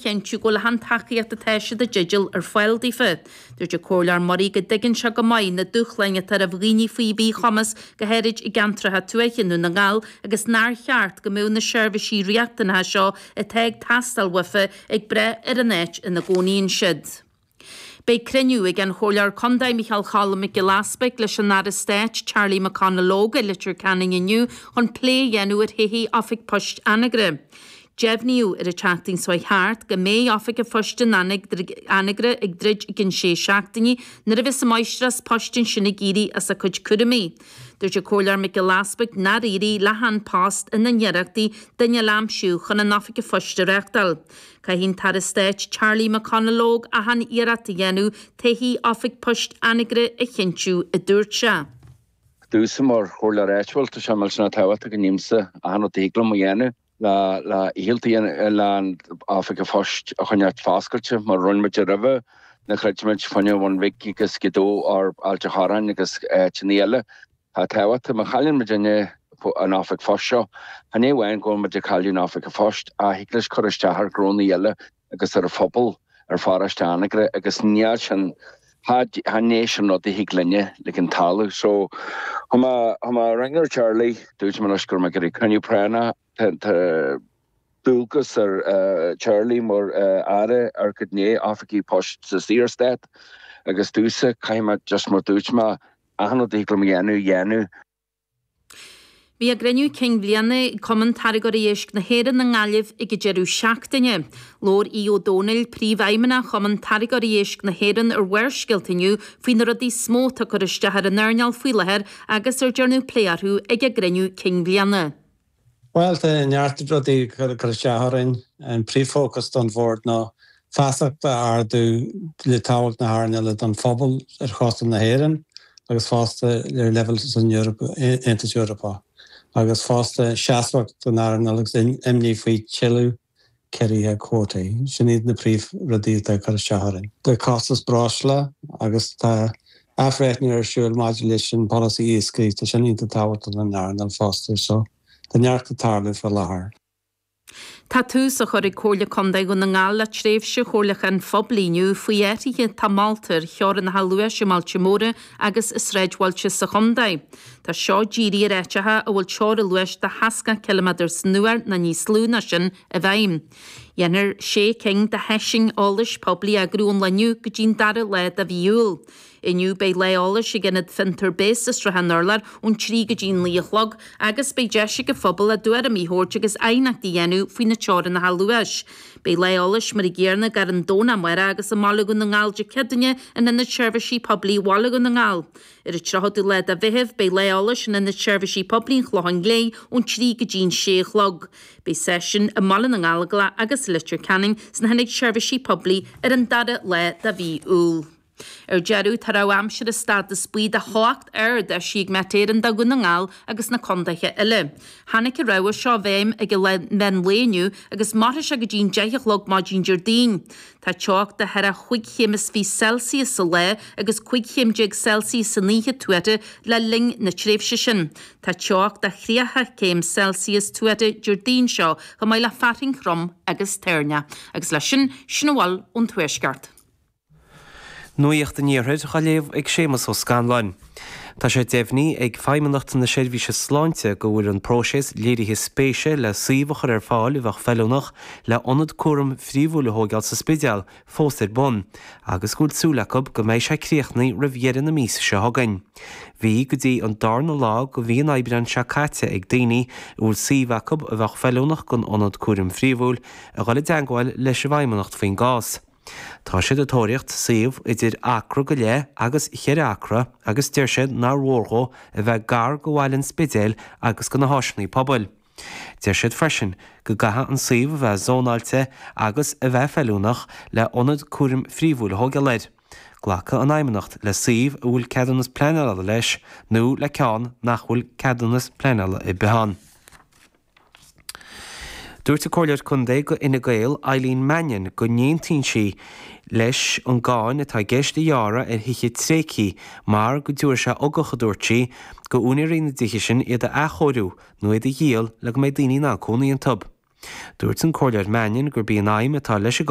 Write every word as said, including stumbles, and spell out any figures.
chinntiú go bhfuil an tacaíocht atá siad i dteideal ar fáil daofa. Dúirt an Comhairleoir Murray go dtuigeann sé go maith na dúshláin atá roimh dhaoine faoi mhíchumas go háirid i gceantracha tuaithe i nDún na nGall agus nár cheart go mbeadh na seirbhísí riachtanacha seo atá ag teastáil uafa ag brath ar an áit ina gcónaíonn siad. Beidh cruinniú ag an Chomhairleoir Contae Micheál Cholm Mac Giolla Easbuig leis an Aire Stáit Charlie McConalogue i Leitir Ceanainn inniu chun plé a dhéanamh ar thodhchaí Oifig Poist Anagaire. Deimhníodh ar an tseachtain seo thart go mbeidh Oifig an Phoist in Anagaire ag druid i gcionn sé seachtainí nuair a bheas an máistreás poist ansin ag éirí as a cuid cúraimí. Dúirt an Comhairleoir Mac Giolla Easbuig nár éirigh le hAn Post ina n-iarrachtaí duine a aimsiú chun an Oifig an Phoist a reáchtáil. Caithfidh an tAire Stáit Charlie McConalogue achan iarracht a dhéanamh todhchaí Oifig Poist Anagaire a chinntiú a dúirt sé. Domsa mar chomhairleoir áitiúil tá sé millteanach tábhachtach go ndéanfaimse achan rud a thig liom a dhéanamh le le hialtaí le an Oifig an Phoist a choinneáil foscailte mar rinne muid roimhe na chreidimid faoine Bhun Bhig agus Gaoth Dobhair Ailt an Chorráin agus áiteanna eile. Tá tábhacht má chailleann muid an Oifig Phoist seo, Chan é amháin go bhfuil muid ag cailleadh an Oifig an Phoist ach thig leis cur isteach ar ghnónna eile agus ar an phobal ar pharóiste Anagaire agus níl sin chan é sin rud a thig linne le an talamh. So tá mé ag ringeáil Charlie dúirt mé leis gur mé gur cruinniú práinneach tá dualgas ar Charlie mar aire ar go né oifigí poist sa Saorstát agus domsa caithfidh mé just mar dúirt mé achan rud a thig liom a dhéanamh dhéanamh. Bhí a gcruinniú cinn bliana ag Cumann Táirgeoirí Éisc na hÉireann i nGaillimh ag an deireadh seachtaine. Labhair Aodh Ó Dónaill, príomhfheidhmeannach Chumann Táirgeoirí Éisc na hÉireann ar Bharrscéalta inniu faoi na rudaí is mó atá ag cur isteach ar an earnáil faoi láthair agus ar déanadh plé orthu ag a gcruinniú cinn bliana. Well tá neart rudaí cur isteach orainn an príomhfhócas don bhord ná feasacht a ardú le tábhacht na hearnála don phobal ar chósta na hÉireann agus fosta ar leibhéal san Aontas Eorpach. agus fosta seasmhacht don earnáil agus imní faoi tuilleadh ciorruithe cuótaí. Sin iad na príomhrudaí atá cur isteach orainn. Tá costas breosla agus tá athbhreithniú ar siúl maidir leis an polasaí iascaigh tá sin iontach tábhachtach don earnáil fosta so tá neart ag tarlú faoi láthair. Tá tús á chur ag Comhairle Contae Dhún na nGall le tréimhse chomhairliúcháin phoiblí inniu faoi athruithe atá molta ar theorainneacha luais i mbailte móra agus i sráidbhailte sa chontae. Tá seo dírithe ar áiteacha a bhfuil teorainn luais de sheasca ciliméadar san uair nó níos lú ná sin i bhfeidhm. Dhéanfar sé cinn de sheisiúin eolais poiblí a eagrú ón lá inniu go dtí'n dara lá de mhí Iúil. Inniu beidh lá eolais ag Ionad Fiontar Béas i Srath an Urláir ón trí go dtí naoi a chlog agus beidh deis ag an phobal a dtuairimí a thabhairt agus aighneachtaí a dhéanamh faoi na teorainneacha luais. Beidh lá eolais mar an gcéanna ar an Domhnach amárach agus i mBaile Dhún na nGall Dé Céadaoine in Ionad Seirbhísí Poiblí Bhaile Dhún na nGall. Ar an tríochadú lá de Mheitheamh beidh lá eolais in Ionad Seirbhísí Poiblí an Chlocháin Léith ón trí go dtí an sé a chlog. Beidh seisiún i mBaile na nGallóglach agus Leitir Ceanainn sna hIonaid Seirbhísí Poiblí ar an dara lá de mhí Iúil. Ar deireadh tá rabhadh aimsire stádas buí de theocht ard eisithe ag Met Éireann do Dhún na nGall agus na contaetha eile. Tháinig an rabhadh seo i bhfeidhm ag an meán lae inniu agus mairfidh sé go dtí an deich a chlog maidin Déardaoin. Tá teocht de cheithre chúig chéim is fiche Celsius sa lá agus cúig chéim déag Celsius san oíche tuartha le linn na tréimhse sin. Tá teocht de thríocha céim Celsius tuartha Déardaoin seo chomh maith le fearthainn throm agus toirneach. Agus leis sin sin a bhfuil ón tuaisceart. Nuacht an Iarthair á léamh ag Séamus Ó Scanláin. Tá sé deimhnithe ag Feidhmeannacht na Seirbhíse Sláinte go bhfuil an próiseas léirithe spéise le suíomh a chur ar fáil a bheadh feiliúnach le ionad cúraim phríomhúil a thógáil sa Spidéal fós ar bun, agus go bhfuil súil acu go mbeidh sé críochnaithe roimh dheireadh na míosa seo chugainn. Bhí go dtí an darna lá de mhí an Aibreáin seo caite ag daoine a bhfuil suíomh acu a bheadh feiliúnach don ionad cúraim phríomhúil a dhul i dteagmháil leis an bhFeidhmeannacht faoin gcás. Tá siad ag tóraíocht suíomh idir acra go leith agus cheithre acra agus deir siad nár mhór dhó a bheith gar go bhaile an Spidéil agus go na háiseanna pobail. Deir siad freisin go gcaithfidh an suíomh a bheith zónáilte agus a bheith feiliúnach le ionad cúraim phríomhúil a thógáil air. Glacfaidh an Fheidhmeannacht le suíomh a bhfuil ceadúnas pleanála leis nó le ceann nach bhfuil ceadúnas pleanála ar bith ann. Dúirt an Comhairleoir Contae do Fhine Gael Eileen Mannion go n-aontaíonn sí leis an gcáin atá i gceist a ghearradh ar thithe tréigthe mar go dtabharfaidh sé ugach a dúirt sí go úinéirí na dtithe sin iad a athchóiriú nó iad a dhíol le go mbeidh daoine in ann cónaí iontu. Dúirt an Comhairleoir Mannion gurb í an aidhm atá leis an